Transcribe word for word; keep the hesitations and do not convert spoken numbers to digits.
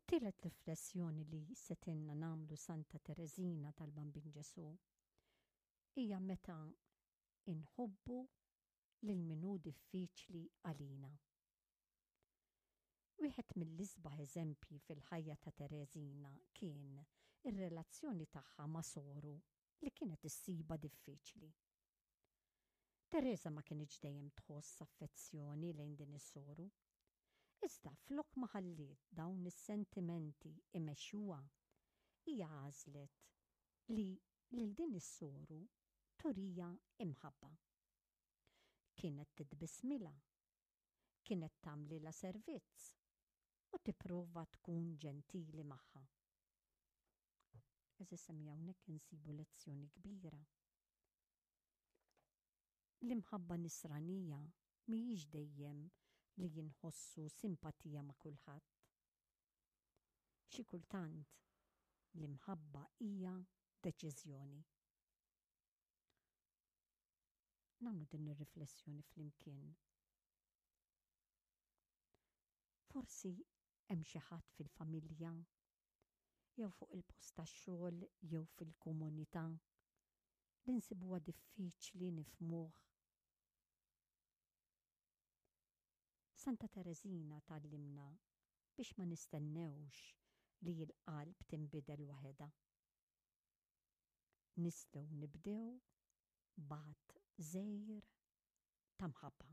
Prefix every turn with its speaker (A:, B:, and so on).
A: It-tielet riflessjoni li setinna nagħmlu Santa Tereżina tal-Bambin Ġesù hija meta inħobbu lil min hu diffiċli għalina. Wieħed mill-isbaħ eżempji fil-ħajja ta' Tereżina kien ir-relazzjoni tagħha ma' soru li kienet issibha diffiċli. Tereża ma kinitx dejjem tħoss affezzjoni lejn din is-soru. Iżda flok ma ħalliet dawn is-sentimenti imexxuha, hija għażlet li lil din is-soru turija imħabba. Kienet titbismilha, kienet tagħmlilha servizz u tipprova tkun ġentili magħha. Għeżież semmiegħa, hawnhekk insibu lezzjoni kbira. L-imħabba nisranija mhijiex dejjem li jinħossu simpatija ma' kulħadd. Xi kultant l-imħabba hija deċiżjoni. Nagħmlu din ir-riflessjoni flimkien. Forsi hemm xi ħadd fil-familja jew fuq il-post tax-xogħol jew fil-komunità li nsibuha diffiċli nifhmuh. Santa Tereżina tgħallimna biex ma nistennewx li l-qalb tinbidel waħedha. Nistgħu nibdew b'għadd żgħir ta' mħabba.